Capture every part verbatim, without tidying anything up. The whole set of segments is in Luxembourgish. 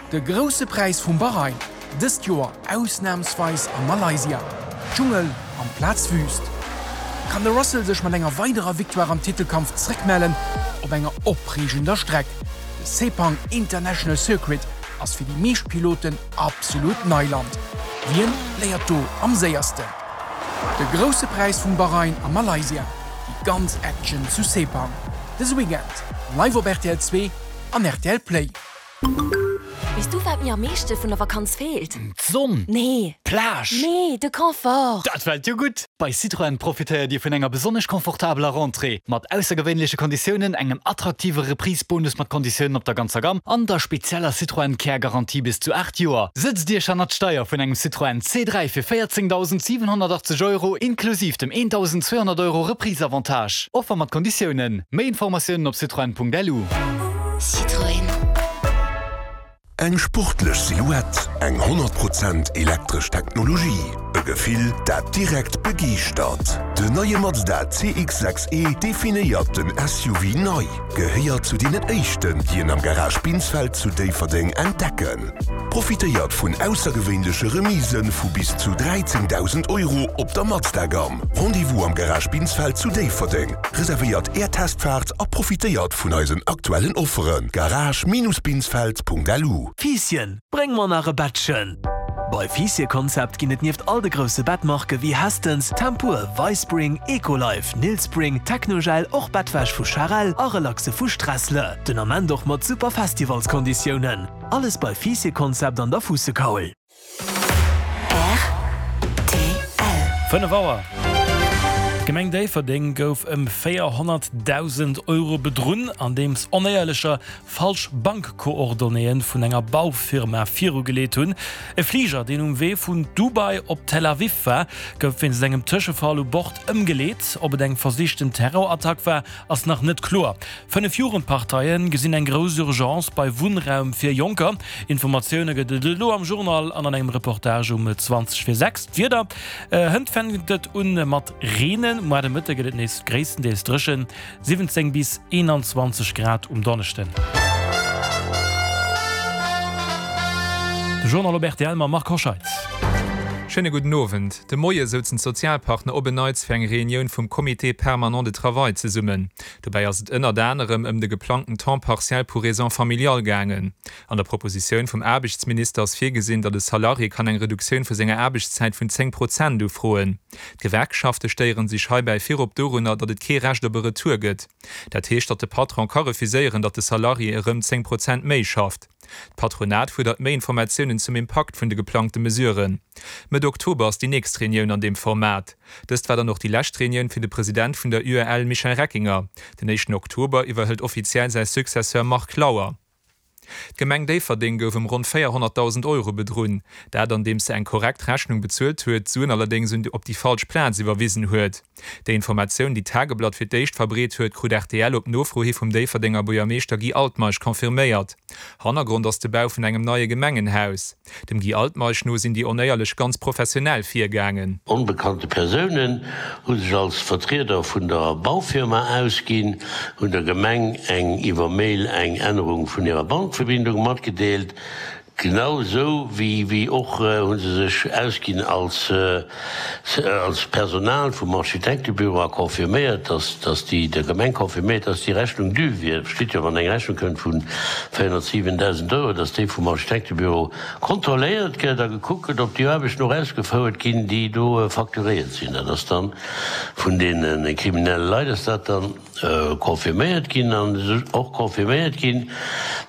De Grousse Präis vum Bahrain, dëst Joer ausnamsweis a Malaysia. Dschungel amplaz Wüüst. Kann de Russell sech mat enger weiderer Victoire am Titelkampf zréckmellen op enger opreegender Streck? De Sepang International Circuit ass fir déi meescht Piloten absolut Neiland. Wien léiert do am séiersten? De Grousse Präis vum Bahrain a Malaysia, déi ganz Action zu Sepang, dëse Weekend live op rtl zwee an rtl Play. Weess du wat mir am meeschte vun der Vakanz feelt? D'Sonn! Nee. D'Plage! Nee, de Confort! Dat fält jo gutt! Bei Citroën profitéiert Dir vun enger besonnesch confortabeler Rentrée, mat aussergewéinleche Konditiounen, engem attraktive Reprise-Bonus mat Konditiounen op der ganzer Gamm an der spezieller Citroën Care Garantie bis zu aacht Joer. Sëtzt Iech hannert d'Steier vun engem Citroën C dräi fir véierzéngdausend siwenhonnertachtzeg Euro inklusiv dem eendausend zweehonnert Euro Reprise-Avantage. Offer mat Konditiounen. Méi Informatiounen op citroën.lu. Citroën. Eng sportlech Silhouette, eng honnert Prozent elektresch Technologie, e Gefill, dat direkt begeeschtert. Den neie Mazda C X sechs E definéiert den S U V nei. Gehéiert zu deenen éischten, déi en am Garage Binsfeld zu Déifferdeng entdecken. Profitéiert vun aussergewéinleche Remisë vu bis zu dräizéngdausend Euro op der Mazda-Gamm. Rendez-vous am Garage Binsfeld zu Déifferdeng. Reservéiert Är Testfaart a profitéiert vun eisen aktuellen Offeren. garage Binus binsfeld Punkt lu. Fiisschen, bréng mer nach e Bettchen! Bei Fiissche-Konzept ginn et nieft all de grousse Bettmarke wéi Hästens, Tempur, Vispring, Ecolife, Nilspring, Technogel och Bettwäsch vu Charel a Relaxe vu Strässle. Den Ament och mat super Festivalskonditiounen. Alles bei Fiissche-Konzept an der Fuussekaul. Fënnef Auer. D'Gemeng Déifferdeng gouf ëm véierhonnertdausend Euro bedrunn, andeems Onéierlecher falsch Bankcoordonnéeë vun enger Baufirma virugeleet hunn. E Fliger, deen um Wee vun Dubai op Tel Aviv war, gouf wéinst engem Tëschefall u Bord ëmgeleet. Ob et eng versichten Terrorattack war, ass nach net kloer. Fënnef Jugendparteie gesinn eng grouss Urgence bei Wunnraum fir Jonker. Informatioune gëtt et elo am Journal an an engem Reportage um zwanzeg vir sechs. D'Wieder, Hënt fänkt et un mat reenen, muer de Mëtte gëtt et nees gréisstendeels dréchen, siwwenzéng bis eenanzwanzeg Grad um Donneschden. De Journal op rtl mam Marc Hoscheid. Schéine gudden Owend. De Moie souzen d'Sozialpartner op en Neits fir eng Reunioun vum Comité permanent de travail zesummen. Dobäi ass et ënnert anerem ëm de geplangten Temps partiel pour raisons familiales gaangen. An der Propositioun vum Aarbechtsminister ass virgesinn, datt e Salarié kann eng Reduktioun vu senger Aarbechtszäit vun zéng Prozent ufroen. D'Gewerkschafte stéiere sech heibäi virop dorunner, datt et kee Recht op e Retour gëtt. Dat heescht, datt de Patron ka refuséieren, datt de Salarié erëm zéng Prozent méi schafft. D'Patronat fuerdert méi Informatiounen zum Impakt vun de geplangte Mesuren. Mëtt Oktober ass déi nächst Reunioun an deem Format. Dëst war dann och déi lescht Reunioun fir de President vun der U E L Michel Reckinger. Den éischten Oktober iwwerhëlt offiziell säi Successeur Marc Lauer. D'Gemeng Déifferdeng gouf ëm ronn véierhonnertdausend Euro bedrunn. Dat andeems se eng korrekt Rechnung bezuelt huet, d'Suen allerdéngs un op déi falsch Plaz iwwerwisen huet. Déi Informatioun, déi d'Tageblatt fir d'éischt verbreet huet, krut R T L op Nofro hi vum Déifferdenger Buergermeeschter Guy Altmeisch confirméiert. Hannergrond ass de Bau vun engem neie Gemengenhaus. Dem Guy Altmeisch no sinn déi Onéierlech ganz professionell virgaangen. Onbekannte Persounen hu sech als Vertrieder vun der Baufirma ausginn, hunn der Gemeng eng iwwer Mail eng Ännerung vun hirer Bankverbindung matgedeelt. Genau sou wéi wéi och hu se sech ausginn als als Personal vum Architektebüro a confirméiert, dass dass déi der Gemeng confirméiert, dass déi Rechnung dû wier. Verstitt jo, wann eng Rechnung kënnt vu véierhonnertsiwendausend Euro, dass déi vum Architektebüro kontrolléiert gëtt a gekuckt gëtt, ob déi Aarbechten och ausgefouert ginn, déi do facturéiert sinn. Dat ass dann vun deene kriminelle Leit ass dat dann confirméiert ginn an och confirméiert ginn,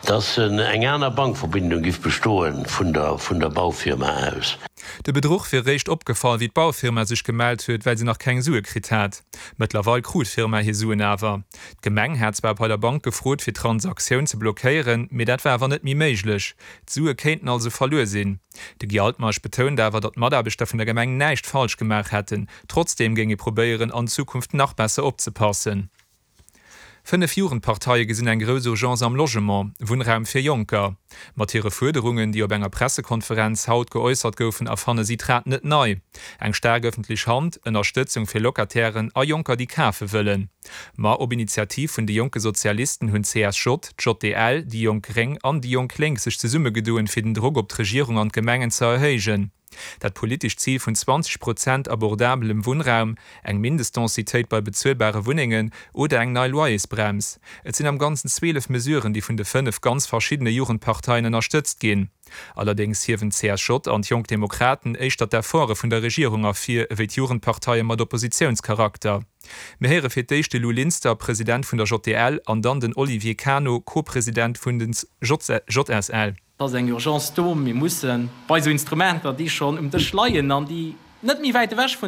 dass eng aner Bankverbindung giff bestoen vun der vun der Baufirma aus. De Bedruch wier réischt opgefall, wéi d'Baufirma sech gemellt huet, well se nach keng Sue kritt hat. Mëttlerweil krut d'Firma hir Suen awer. D'Gemeng hat zwar bei der Bank gefrot, fir d'Transaktioun ze blockéieren, mee dat war awer net méi méiglech. D'Sue kéinten also verluer sinn. De Guy Altmeisch betount awer, datt d'Mataarbechter vun der Gemeng näischt falsch gemaach hätten. Trotzdeem géing ee probéieren, an Zukunft nach besser opzepassen. Fënnef Jugendparteie gesinn eng grouss Urgence am Logement, Wunnraum fir Jonker. Mat hire Fuerderungen, déi op enger Pressekonferenz haut geäussert goufen, erfanne si d'Rad net nei. Eng staark ëffentlech Hand, Ënnerstëtzung fir Locatairen a Jonker, déi kafe wëllen. Ma op Initiativ vun de Jonke Sozialisten hunn d'CSJ, d'JDL, déi Jonk Gréng an déi Jonk Lénk sech zesummegedoen, fir den Drock op d'Regierung an d'Gemengen ze erhéijen. Dat politescht Zil vun zwanzeg Prozent abordabelem Wunnraum, eng Mindestdensitéit bei bezuelbare Wunnengen oder eng nei Loyersbrems, et sinn am Ganzen zwielef Mesuren, déi vun de fënnef ganz verschiddene Jugendparteien ënnerstëtzt ginn. Allerdéngs hiewen d'CSJ an d'Jonk Demokraten éischter d'Efforte vun der Regierung ervir ewéi d'Jugendparteie mat Oppositiounscharakter. Mir héiere fir d'éischt de Lou Linster, President vun der JDL, an dann den Olivier Cano, Co-President vun den JSL. Et ass eng Urgence do. Mir musse bei esou Instrumenter, déi schonn um Dësch leien an déi net méi wäit ewech vun der.